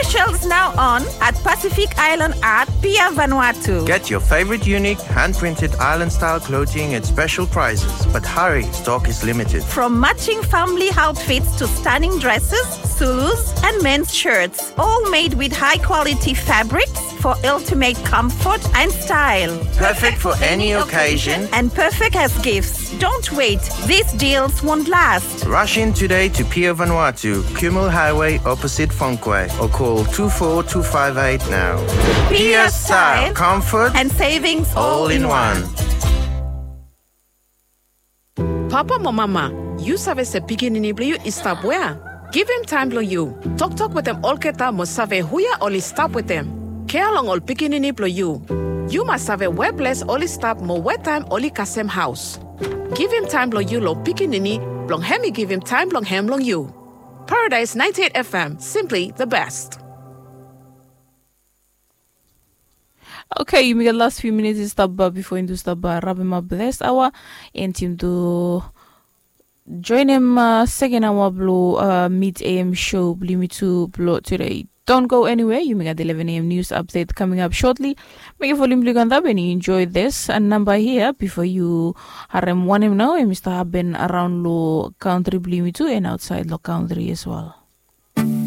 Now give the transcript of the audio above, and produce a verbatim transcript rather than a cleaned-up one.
Shells now on at Pacific Island Art, Pier Vanuatu. Get your favorite unique hand-printed island-style clothing at special prices, but hurry, stock is limited. From matching family outfits to stunning dresses, Zulus, and men's shirts, all made with high-quality fabrics for ultimate comfort and style. Perfect for any occasion and perfect as gifts. Don't wait, these deals won't last. Rush in today to Pier Vanuatu, Kumul Highway, opposite Fonquay, or call two four two five eight now. Pier style, comfort, and savings all in one. Papa mo mama, yu save se pikinini blong yu i stap wea? Givim taem blong yu. Toktok wetem olgeta mo save hia oli stap wetem. Kea long ol pikinini blong yu. Yu mas save wea ples oli stap mo wea taem oli kasem haos. Givim taem blong yu long pikinini blong hem i givim taem blong hem long yu. Paradise ninety-eight F M, simply the best. Okay, yumi gat last few minutes i stap bifo yumi tu stap rabemap this hour. And yumi tu joinim uh, second hour blong uh, mid A M show blong yumi tu blong today. Don't go anywhere. Yumi gat eleven A M news update coming up shortly. Mekem volume blong yu go antap and enjoy this uh, number here before you harem wanem nao em i stap hapen around long country blong yumi tu and outside long country as well.